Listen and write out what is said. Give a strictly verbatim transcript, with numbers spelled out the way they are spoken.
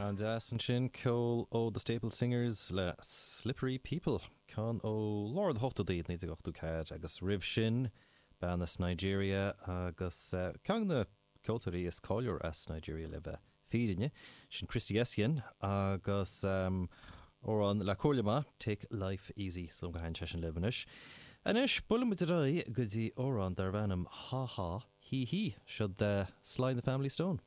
An-deas ansin ceol ó The Staple Singers le Slippery People ceann ó lár na hochtóidí naoi déag ochtó ceathair agus roimh sin bean as Nigeria agus uh, ceann de na ceoltóirí is cáiliúla as Nigeria le bheith fírinneach sin Christy Essien agus um, amhrán le comhairle maith Take Life Easy so go hain sin libh. Anois buailfimid ar aghaidh go dtí amhrán darb ainm Ha Ha Hí Hí seo de Sly the Family Stone.